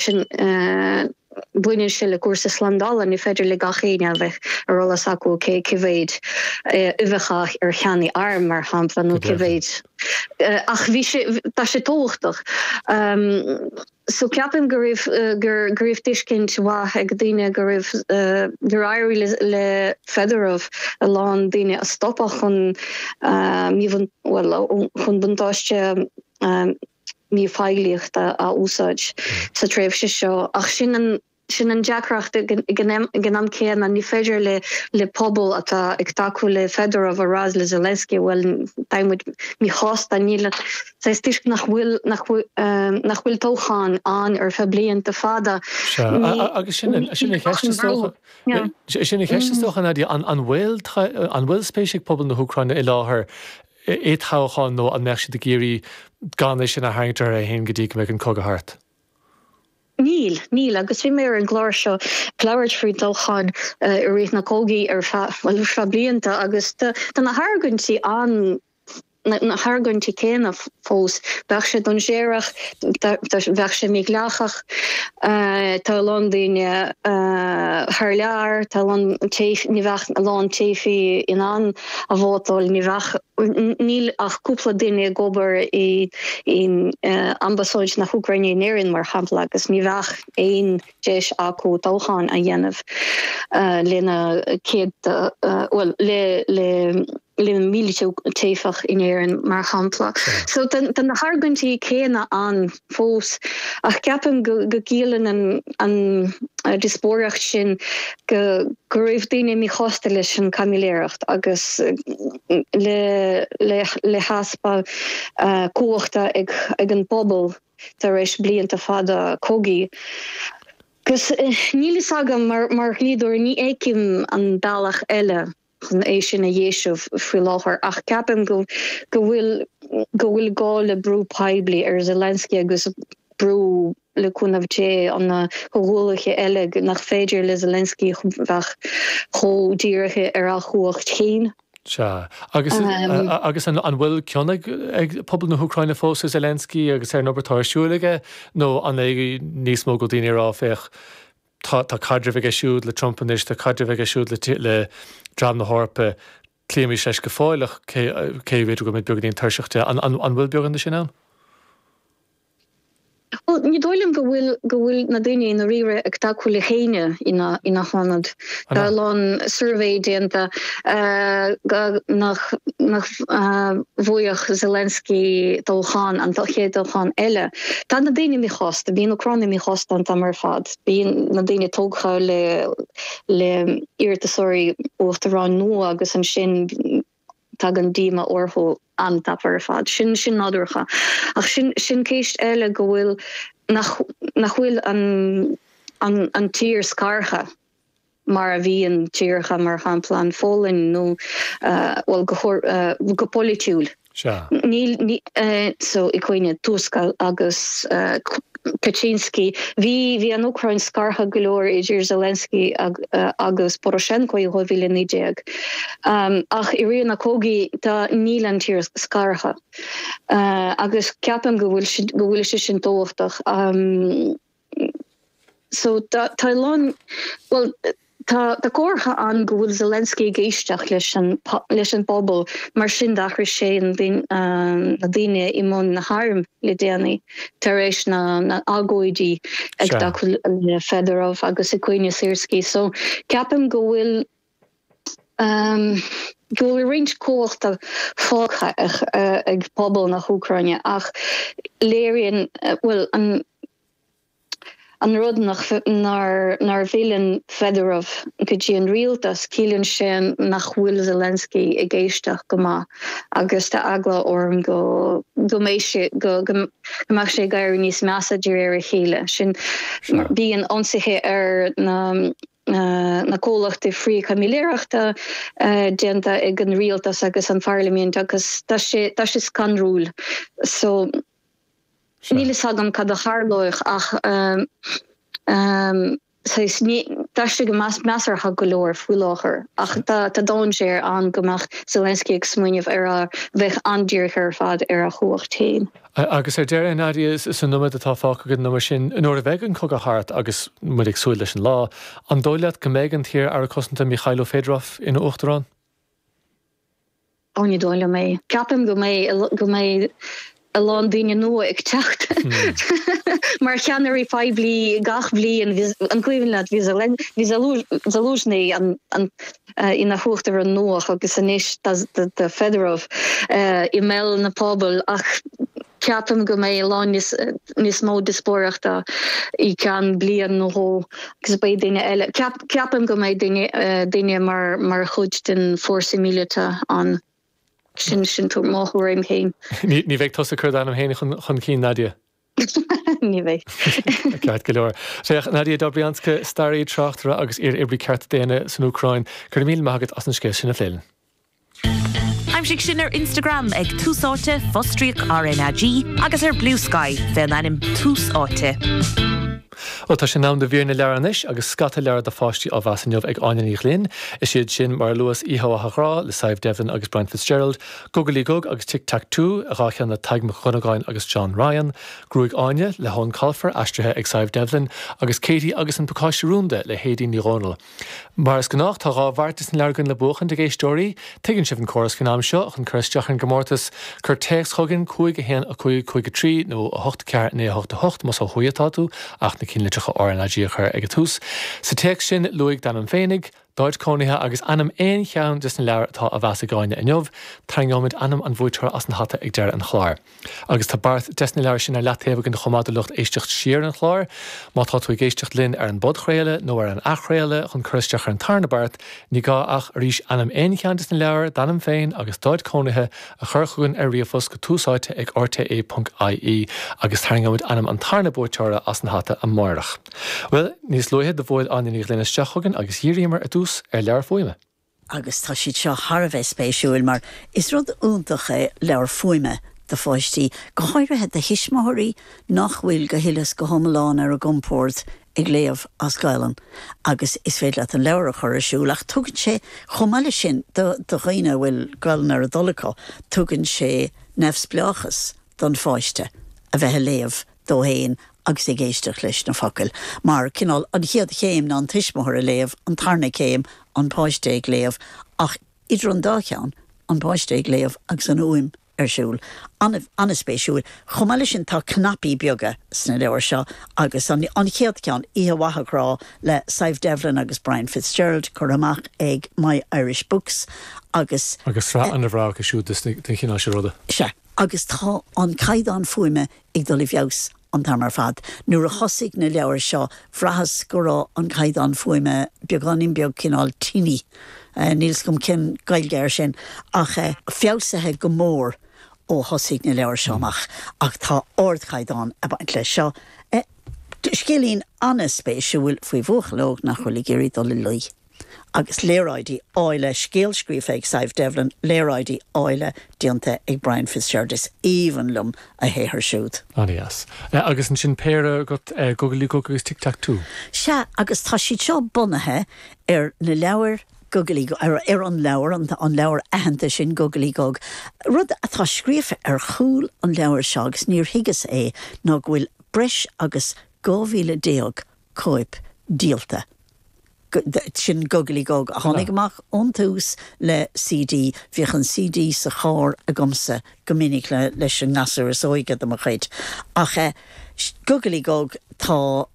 Sin, baineann sé le cúrsaí slándála, ní féidir le gach éinne a bheith ar eolas acu cé cé mhéid uibheacha ar cheannaigh arm, mar shampla, nó cé mhéid. Ach bhí sé, tá sé tábhachtach. So ceapaim go raibh, go raibh tuiscint mhaith ag daoine go raibh, gur éirigh le Fedorov a lán daoine a stopadh chun míbhun, bhuel, chun buntáiste míphoiblíochta a úsáid sa tréimhse seo ach sin an sin an deacracht ag an am céanna ní féidir le le pobal atá ag tacú le Fedorov a rá le Zelensky bhuel tá muid míshásta níl saghas toisc nach bhfuil nach bhfuil nach bhfuil toghchán ann ar feadh blianta fada. Sea, agus sin an sin an cheist is dócha. Sin an cheist is dócha Nadia, an an bhfuil an bhfuil spéis ag pobal na hÚcráine i láthair i dtoghchán nó an mbeadh siad ag iarraidh gan é sin a tharraingt orthu féin go dtí go mbeidh an cogadh thart? Níl, níl, agus bhí mé ar an gclár seo ag labhairt faoi toghcháin i rith na cogaidh ar feadh, bhuel, ar feadh blianta agus tá na hargóintí an, na hargóintí céanna fós. Bheadh sé dainséarach, bheadh sé mídhleathach, tá a lán daoine thar lear, tá a lán, ní bheadh a lán teifigh in ann a vótáil, ní bheadh, níl ach cúpla duine ag obair i in Ambasáid na hÚcráine in Éirinn, mar shampla, agus ní bheadh aon deis acu toghchán a dhéanamh lena céadta, bhuel, le le le mílte teifeach in Éirinn, mar shampla. So tá na hargóintí céanna ann fós, ach ceapaim go gciallaíonn an díospóireacht sin go go raibh daoine míshásta leis an caimiléireacht agus le le heaspa cumhachta ag ag an bpobal tar éis blianta fada cogaidh. Agus níl fhios agam, mar mar dhlíodóir ní fheicim an bealach eile chun é sin a dheisiú faoi láthair ach ceapaim go go bhfuil go bhfuil gá le brú poiblí ar Zelensky agus brú le cúnamh Dé ó na comhghuaillithe eile nach féidir le Zelensky bheith chomh dírithe ar a chumhacht féin. Sea. Agus agus an an bhfuil cion ag ag pobal na hÚcráine fós ar Zelensky agus ar an obair atá ar siúl aige nó an é níos mó go daoine ag rá féach Tá tá caidreamh aige siúd le Trump anois, tá caidreamh aige siúd le le dream na hEorpa, cloímis leis go fóill ach cé cé b'fhéidir go bhfuil muid beagáinín tuirseach de. An an an bhfuil beagán de sin ann? Bhuel, ní dóigh liom go bhfuil go bhfuil na daoine i ndáiríre ag tacú le héinne ina ina hionad. Tá a lán suirbhé déanta nach nach bhuafadh Zelensky toghchán, an chéad toghchán eile. Tá na daoine míshásta, bíonn Úcránaigh míshásta an t-am ar fad. Bíonn na daoine tógtha le le iarratasóirí uachtaráin nua agus ansin tagann díoma orthu an-tapa ar fad. Sin sin nádúrtha. Ach sin sin ceist eile go bhfuil nach nach bhfuil an an an tír scartha. mar a bhíonn tíortha, mar shampla an Pholainn nó, bhuel, go go polaitiúil. Sea. Níl, so, i gcoinne Tusk agus Kaczynski. Bhí, bhí an Úcráin scartha go leor idir Zelensky agus Poroshenko i 2019. Ach i rith na cogaidh, tá, níl an tír scartha. Agus ceapaim go bhfuil, go bhfuil sé sin tábhachtach. So tá a lán, bhuel, tá tá comhartha ann go bhfuil Zelensky ag éisteacht leis an leis an bpobal, mar sin d'athraigh sé na daoine i mbun na hairm le déanaí tar éis na na agóidí ag tacú le Fedorov agus i gcoinne Syrsky. So ceapaim go bhfuil go bhfuil roinnt cumhachta fágtha ag pobal na hÚcráine ach léiríonn, bhuel, an An rud nach nár bhfilleann Fedorov go dtí an rialtas, ciallaíonn sé nach bhfuil Zelensky ag éisteacht go maith agus tá eagla orm go go mbeidh sé go go mbeadh sé ag éirí níos measa de réir a chéile. Sin bíonn ionsaithe ar na na comhlachtaí frith-chaimiléireachta déanta ag an rialtas agus an pharlaimint agus tá sé tá sé scanrúil. So. Níl fhios agam cad a tharlóidh ach saghas, tá. D'aistrigh go measartha go leor faoi láthair ach tá dainséar ann go mbeadh Zelensky ag smaoineamh ar a bheith an-dírithe ar fad ar a chumhacht féin. Agus ar deireadh, Nadia, sa nóiméad atá fágtha againn nó mar sin, nuair a bheidh an cogadh thart, agus muid ag súil leis an lá, an dóigh leat go mbeidh an t-iar-aire cosanta Mykhailo Fedorov ina uachtarán? Ó, ní dóigh liom é. Ceapaim go mbeidh, go mbeidh a lán daoine nua ag teacht mar cheannairí poiblí gach bliain. An cuimhin leat, bhí Zaluzhny ina huachtarán nua agus anois tá Fedorov i mbéal na pobail ach ceapaim go mbeidh a lán níos mó díospóireachta i gceann bliain nó dhó agus beidh duine eile, ceapaim go mbeidh duine mar chuid den fórsa míleata ann. Sin sin mo thuairim féin. Ní bheidh tusa ag cur d'ainm féin chun cinn, Nadia? Ní bheidh. Ceart go leor. Féach, Nadia Dobrianska, staraí, tráchtaire agus iar-oibrí cearta daonna san Úcráin, go raibh míle maith agat as an scéal sin a phlé linn. Aimsigh sinn ar Instagram ag Tús Áite, fostríoc RnaG, agus ar Bluesky fén ainm Tús Áite. Bhuel, tá sé in am do mhír na leabhar anois agus scata leabhar do pháistí á mheas inniu ag Áine Ní Ghlinn. Is iad sin, mar a luas, Oíche Mhaith a Ghrá le Sadhbh Devlin agus Brian Fitzgerald, Gugalaí Gug agus Tic Tac Toe, 2 cheann le Tadhg Mac Dhonnagáin agus John Ryan, Gruaig Áine le hEoin Colfer, aistrithe ag Sadhbh Devlin, agus Katie agus an Pacáiste Rúnda le hAedín Ní Dhomhnaill. Mar is gnách, tá 2 bheart des na leabhair againn le buachaint ag éisteoirí. Tuigeann sibh an córas faoin am seo, chun cur isteach ar an gcomórtas, cuir téacs chugainn, 5 1 5 5 3 nó 8 4 9 8 8 más ó thuaidh atá tú, ach na cinnlitreacha RnaG a chur ag an tús. Sa téacs sin, luaigh d'ainm féinig, d'áit cónaithe agus ainm aon cheann des na leabhair atá á mheas ag Áine inniu. Tarraingeoimid ainm an bhuaiteora as an hata ag deireadh an chláir. Agus tá beart des na leabhair sin ar leataobh againn chomh maith do lucht éisteacht siar an chláir. Má tá tú ag éisteacht linn ar an bpodchraoladh nó ar an athchraoladh chun cur isteach ar an tarna beart, ní gá ach, arís, ainm aon cheann des na leabhair, d'ainm féin agus d'áit cónaithe a chur chugainn ar ríomhphost go túsáite ag rte ponc ie agus tarraingeoimid ainm an tarna buaiteora as an hata amáireach. Bhuel, níos luaithe do bhuail Áine Ní Ghlinn isteach chugainn agus dhíríomar ar dtús ar leabhar fuaime. Agus tá siad seo thar a bheith spéisiúil mar is rud iontach é leabhar fuaime do pháistí, go háirithe do thuismitheoirí nach bhfuil go huile is go hiomlán ar a gcompord ag léamh as Gaelainn agus is féidir leat an leabhar a chur ar siúl ach tugann sé, chomh maith leis sin, do dhaoine a bhfuil Gaelainn ar a dtoil acu, tugann sé neamhspleáchas don pháiste a bheith ag léamh dó fhéin agus ag éisteacht leis na focail. Mar, cineál, an chéad chéim ná an tuismitheoir ag léamh, an tarna céim, an páiste ag léamh, ach idir an dá cheann, an páiste ag léamh agus an fhuaim ar siúl. An-spéisiúil. Chomh maith leis sin, tá cnaipí beaga sna leabhair seo agus an chéad cheann, Oíche Mhaith a Ghrá le Sadhbh Devlin agus Brian Fitzgerald, curtha amach ag My Irish Books agus. Agus sraith an-bhreá acu siúd den chineál seo ruda. Sea. Agus tá an caighdeán fuaime ag dul i bhfeabhas an t-am ar fad. Nuair a thosaigh na leabhair seo, bhraitheas go raibh an caighdeán fuaime beagáinín beag cineál tinny, níl 's agam cén Gaeilge air sin, ach feabhsaithe go mór ó thosaigh na leabhair seo amach. Ach tá ardchaighdeán ag baint leis seo. Scéilín an-spéisiúil faoi bhuachaill óg nach bhfuil ag iarraidh dul a luí. agus léaráidí áille, scéal scríofa ag Sadhbh Devlin, léaráidí áille déanta ag Brian Fitzgerald. Is aoibhinn liom a shaothar siúd. An-deas. Agus ansin péire agat, Gugalaí Gug agus Tic Tac Toe. Sea, agus tá siad seo bunaithe ar na leabhair Gugalaí Gug, ar an leabhar, an leabhar aitheanta sin, Gugalaí Gug. Rud atá scríofa ar chúl an leabhair seo, agus níor thuigeas é, ná go bhfuil breis agus 12,000 cóip díolta. Sin Gugalaí Gug a tháinig amach ón tús le CD. Bhíodh an CD sa charr agamsa go minic leis an ngasúr is óige de mo chuid. Ach Gugalaí Gug, tá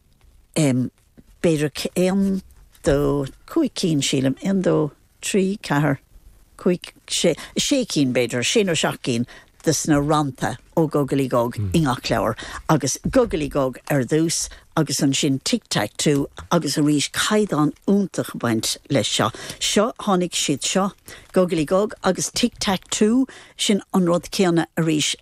b'fhéidir aon, dó, cúig cinn sílim, aon, dó, 3, 4, 5, 6, sé cinn b'fhéidir, sé nó seacht gcinn de sna rannta ó Gugalaí Gug i ngach leabhar. Agus Gugalaí Gug ar dtús agus ansin Tic Tac Toe agus arís caighdeán iontach ag baint leis seo. Seo, tháinig siad seo, Gugalaí Gug agus Tic Tac Toe, sin an rud céanna arís,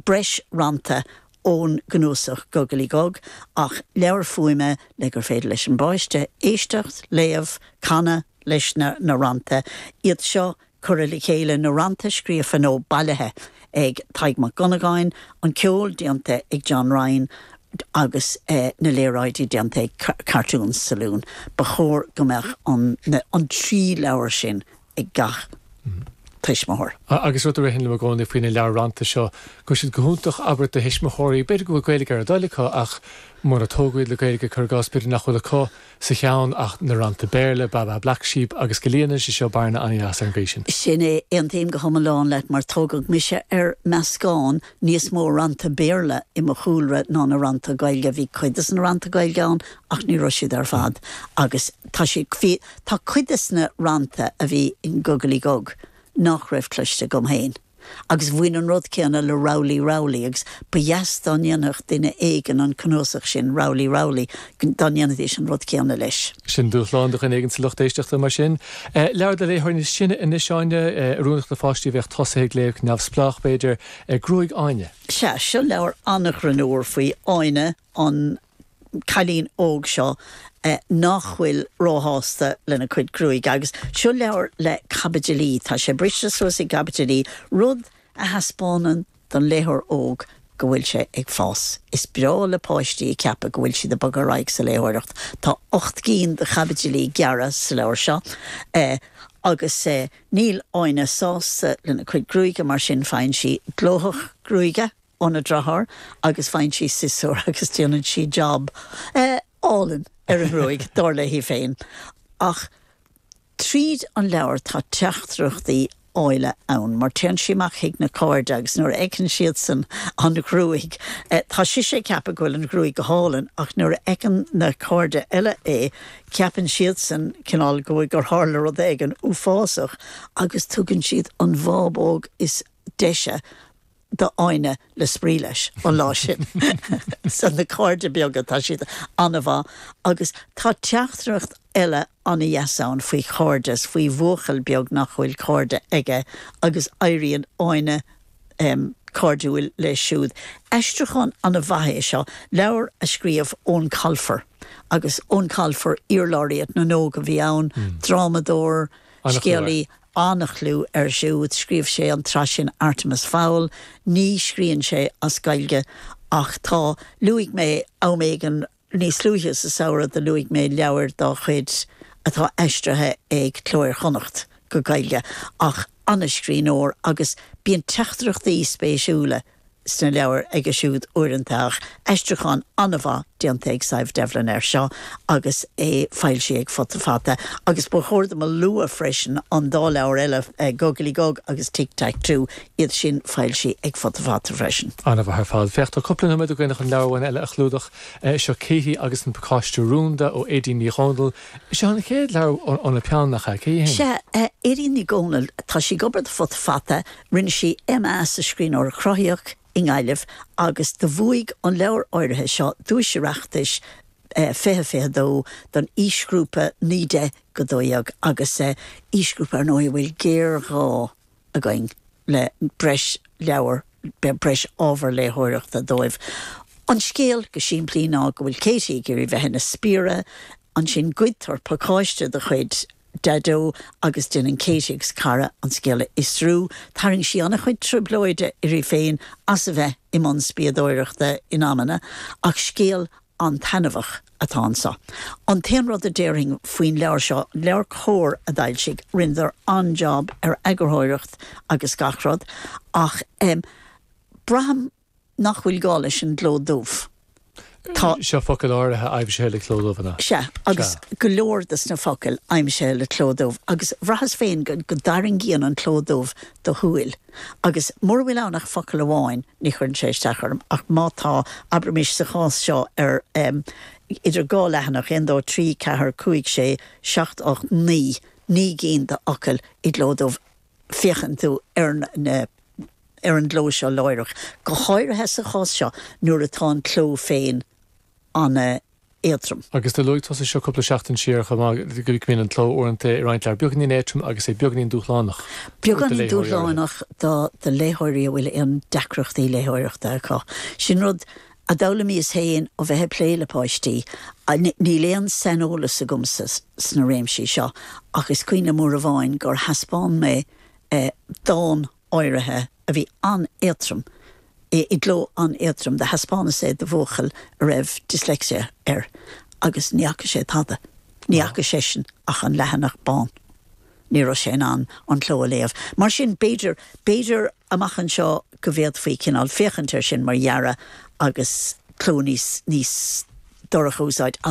breis rannta ón gcnuasach Gugalaí Gug ach leabhar fuaime le gur féidir leis an bpáiste éisteacht, léamh, canadh leis na na rannta. Iad seo curtha le chéile, na rannta scríofa nó bailithe ag Tadhg Mac Dhonnagáin, an ceol déanta ag John Ryan. Agus na léaráidí déanta ag Cartoon Saloon. Ba chóir go mbeadh an an 3 leabhar sin ag gach tuismitheoir. Agus rud a ritheann liom i gcónaí faoi na leabhair rannta seo, go bhfuil siad go hiontach, abair, do thuismitheoirí, b'fhéidir go bhfuil Gaeilge ar a dtoil acu ach mura tógadh iad le Gaeilge, cuir i gcás, b'fhéidir nach bhfuil acu sa cheann ach na rannta Béarla, Baa Baa Black Sheep, agus go líonann sé seo bearna an-dheas ar an gcaoi sin. Sin é, aontaím go hiomlán leat mar tógadh mise ar meascán níos mó rannta Béarla i mo chúlra ná na rannta Gaeilge. Bhí cuid des na rannta Gaeilge ann ach ní raibh siad ar fad agus tá siad, bhí, tá cuid des na rannta a bhí in Gugalaí Gug nach raibh cloiste agam féin. Agus bhain an rud céanna le Rowley Rowley agus ba dheas dá ndéanfadh duine éigin an cnuasach sin, Rowley Rowley, dá ndéanfaidís an rud céanna leis. Sin dúshlán do dhuine éigin sa lucht éisteachta, mar sin. Leabhar do léitheoirí níos sine anois, Áine, oiriúnach do pháistí a bheadh tosaithe ag léamh neamhspleách, b'fhéidir. Gruaig Áine. Sea, seo leabhar an-ghreannmhar faoi Áine, an cailín óg seo nach bhfuil róshásta lena cuid gruaige. Agus seo leabhar le caibidilí, tá sé briste suas i gcaibidilí, rud a thaispeánann don léitheoir óg go bhfuil sé ag fás. Is breá le páistí a cheapadh go bhfuil siad ag bogadh ar aghaidh sa léitheoireacht. Tá 8 gcinn de chaibidilí gearra sa leabhar seo agus níl Áine sásta lena cuid gruaige mar sin faigheann sí glóthach gruaige óna deartháir agus faigheann sí siosúr agus déanann sí jab álainn ar an ngruaig, dar léi féin. Ach tríd an leabhar tá teachtaireachtaí áille ann mar téann sí amach chuig na cairde agus nuair a fheiceann siadsan an ghruaig, tá sise ag ceapadh go bhfuil an ghruaig go hálainn ach nuair a fheiceann na cairde eile é, ceapann siadsan cineál go bhfuil gur tharla rud éigin uafásach agus tugann siad an bhábóg is deise d'Áine le spraoi leis an lá sin. So na cairde beaga, tá siad an-mhaith. Agus tá teachtaireacht eile an-dheas ann faoi chairdeas, faoi bhuachaill beag nach bhfuil cairde aige agus éiríonn Áine cairdiúil leis siúd. Aistriúchán an-mhaith é seo, leabhar a scríobh Eoin Colfer agus Eoin Colfer, iar-Laureate na nÓg a bhí ann, drámadóir, scéalaí. An-chlú air siúd. Scríobh sé an tsraith sin Artemis Fowl. Ní scríonn sé as Gaeilge ach tá. Luaigh mé am éigin níos luaithe sa samhradh do luaigh mé leabhair dá chuid atá aistrithe ag Cló Iar-Chonnacht go Gaeilge ach an-scríbhneoir agus bíonn teachtaireachtaí spéisiúla sna leabhair aige siúd uaireanta ach aistriúchán an-mhaith déanta ag Sadhbh Devlin air seo agus é foilsithe ag Futa Fata. Agus ba chóir dom a lua freisin an dá leabhar eile, Gugalaí Gug agus Tic Tac Toe, iad sin foilsithe ag Futa Fata freisin. An-mhaith ar fad. Féach, tá cúpla nóiméad againn chun leabhar amháin eile a chlúdach. Seo Katie agus an Pacáiste Rúnda ó Aedín Ní Dhomhnaill. Seo an chéad leabhar óna peann, nach ea? Cé hí féin? Sea, Aedín Ní Dhomhnaill. Tá sí ag obair do Futa Fata. Rinne sí MA sa Scríbhneoireacht Chruthaitheach i nGaillimh agus do bhuaigh an leabhar áirithe seo Duais Oireachtais 2022 don aoisghrúpa 9 10-12 agus aoisghrúpa ar ndóigh a bhfuil géarghá againn le breis leabhar, breis ábhar léitheoireachta dóibh. An scéal go simplí ná go bhfuil Katie ag iarraidh bheith ina spiaire, ansin goidtear pacáiste de chuid Daideo agus déanann Katie agus cara an scéal a fhiosrú. Tharraing sí an-chuid trioblóide uirthi féin as a bheith i mbun spiadóireachta in amanna, ach scéal an-taitneamhach atá anseo. An t-aon rud a déarfainn faoin leabhar seo, leabhar Comhar a d'fhoilsigh, rinneadar an-jab ar eagarthóireacht agus gach rud, ach braithim nach bhfuil gá leis an gcló dubh. Tá. Seo focail áirithe aimsithe le cló dubh, an ea? Sea, agus go leor de na focail aimsithe le cló dubh. Agus bhraitheas féin go dtarraingíonn an cló dubh do shúil. Agus mura bhfuil ann ach focal amháin, ní chuireann sé isteach orm, ach má tá, abraimis sa chás seo ar idir dhá leathanach, 1, 2, 3, 4, 5, 6, 7, 8, 9, 9 gcinn d'fhocail i gcló dubh, féachann tú ar na ar an gcló seo láithreach, go háirithe sa chás seo nuair atá an cló féin an-éadrom. Agus do luaigh tusa seo cúpla seachtain siar chomh maith, go mbíonn an cló uaireanta i roinnt leabhar beagáinín éadrom agus é beagáinín dúshlánach do Beagáinín léitheoirí áirithe. dúshlánach do do léitheoirí a bhfuil aon deacrachtaí léitheoireachta acu. Sin rud a d'fhoghlaimíos féin ó bheith ag plé le páistí. Níl aon saineolas agamsa sna réimsí seo ach is cuimhin liom uair amháin gur thaispeáin mé dán áirithe a bhí an-éadrom. I gcló an-éadrom. Do thaispeánas é do bhuachaill a raibh dyslexia air agus ní fhaca sé tada. Ní fhaca seisean ach an leathanach bán. Ní raibh sé in ann an cló a léamh. Mar sin, b'fhéidir, b'fhéidir amach anseo go bhféadfaí cineál féachaint air sin mar dhearadh agus cló níos, níos dorcha a úsáid ach.